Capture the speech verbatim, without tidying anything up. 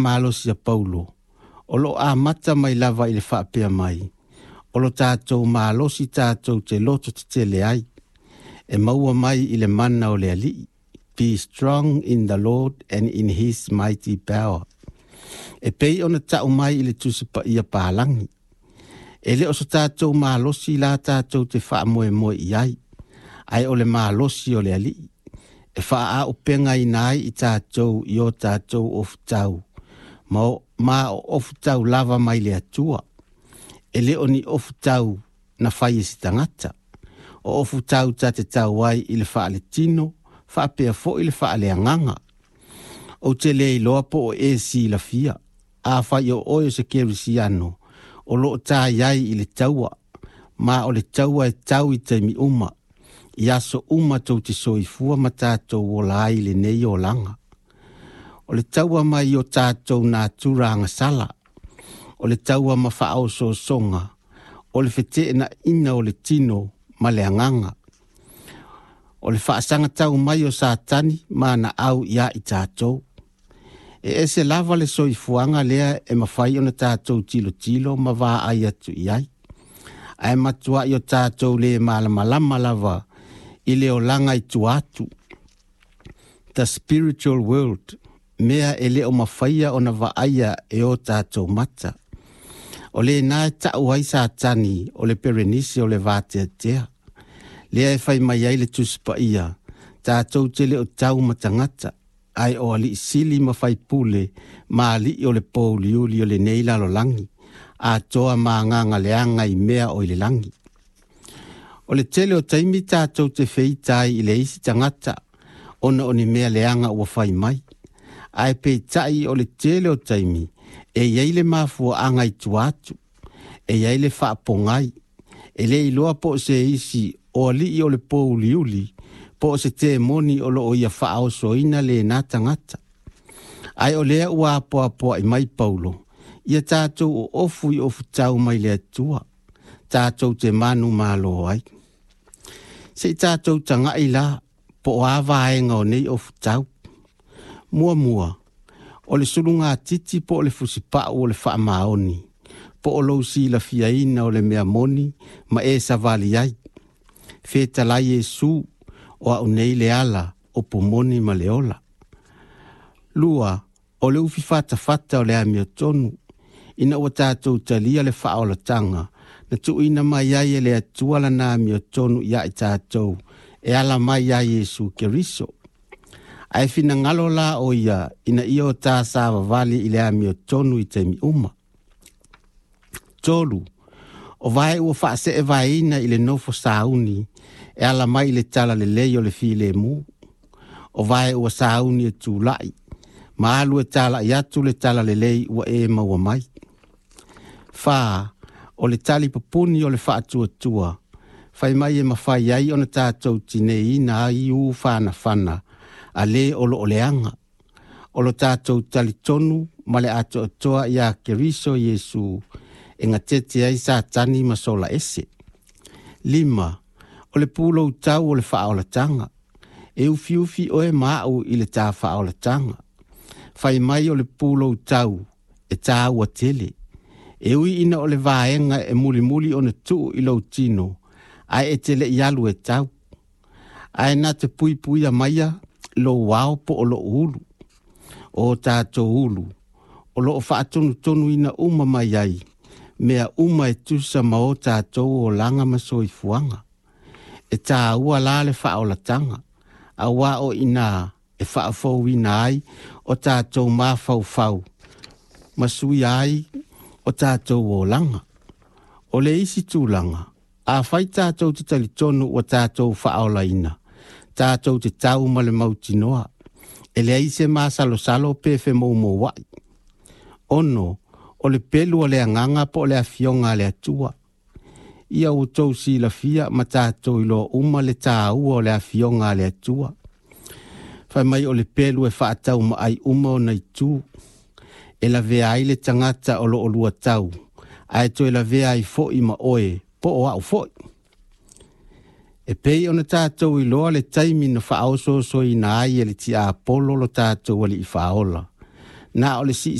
Malosi a Paulo, o loo amata mai lava i le faapea mai, o lo tatou malosi tatou te loto tetele ai, e maua mai i le mana o le Alii. Be strong in the Lord and in his mighty power. E pei ona tau mai i le Tusi Paia Palagi. E le o so tatou malosi la tatou te faamoemoe i ai, ae o le malosi o le Alii, e faaaupegaina ai i tatou i o tatou ofutau, ma o, ma o ofutau lava mai le Atua. E le o ni ofutau na fai e se tagata. O ofutau ta te tau ai i le faaletino, faapea foi le faaleagaga. Ou te le iloa po o e silafia, afai o oe o se kerisiano, o loo ta iai i le taua, ma o le taua e tau i taimi uma, i aso uma tou te soifua ma tatou ola ai i lenei olaga. O le taua mai o tatou natura agasala, o le taua ma faaosoosoga, o le feteenaiga o le tino ma le agaga, o le faasagatau mai o Satani ma ana au ia i tatou. E ese lava le soifuaga lea e mafai ona tatou tilotilo ma vaai atu i ai, ae matuai o tatou le malamalama lava i le olaga i tua atu, the spiritual world, mea e le o mafaia ona vaaia e o tatou mata. O lena e tau ai Satani o le perenisi o le vateatea. Lea e fai mai ai le Tusi Paia, tatou te le o tau ma tagata, ae o alii sili ma faipule ma alii o le pouliuli o lenei lalolagi, atoa ma agaga leaga i mea o i le lagi. O le tele o taimi tatou te feita ai i le isi tagata, ona o ni mea leaga ua fai mai. Ae peitai o le tele o taimi, e iai le mafuaaga i tua atu, e iai le faapogai, e le iloa po o se isi o alii o le pouliuli, po o se temoni o loo ia faaosoina lena tagata. Ae o lea ua apoapoai mai Paulo, ia tatou oofu i ofutau mai le Atua, tatou te manumalo ai. Se i tatou tagai la, po o a vaega o nei ofutau. Muamua, o le sulugatiti po o le fusipau o le faamaoni, po o lou silafiaina o le mea moni ma e savali ai. Fetalai Iesu, o au nei le ala, upu moni ma le ola. Lua, o le ufi fatafata o le amiotonu, ina ua tatou talia le faaolataga, na tuuina mai ai e le Atua lana amiotonu ia i tatou, e ala mai ia Iesu Keriso. Ae finagalo la o ia ina ia o ta savavali i le amiotonu i taimi uma. Tolu, o vae ua faaseevaeina i le nofo sauni, e ala mai i le talalelei o le filemu. O vae ua sauni e tulai, ma alu e talai atu le talalelei ua e maua mai. Fa, o le tali pupuni o le faatuatua, fai mai e mafai ai ona tatou tineiina ai u whanawhana, a le o lo o leaga. O lo tatou talitonu ma le atoatoa ia Keriso Iesu, e gatete ai Satani ma sola ese. Lima, o le pulou tau o le faaolataga, e ufiufi oe ma au i le tā faaolataga. Fai mai o le pulou tau e tāua tele. E ui ina o le vaega e mulimuli ona tuu i lou tino, ae e te le i alu e tau. Ae na te puipuia maia lou ao po o lou ulu. O tatou ulu, o loo faatonutonuina uma mai ai, mea uma e tusa ma o tatou olaga ma soifuaga. E tāua la le faaolataga, auā o inā e faafouina ai o tatou mafaufau, ma suia ai o tatou olaga. O le isi tulaga, afai tatou te talitonu ua tatou faaolaina, tatou te tau ma le mautinoa, e leai se masalosalo pe femoumouai. Ono, o le pelu o le agaga po o le afioga a le Atua. Ia outou silafia ma tatou iloa uma le tāua o le afioga a le Atua. Fai mai o le pelu e faatau maai uma ona itu. E lavea ai le tagata o loo lua tau, ae toe lavea ai foi ma oe, po o au foi. E pei ona tatou iloa le taimi na faaosoosoina ai e le tiapolo lo tatou alii faaola. Na o le siisii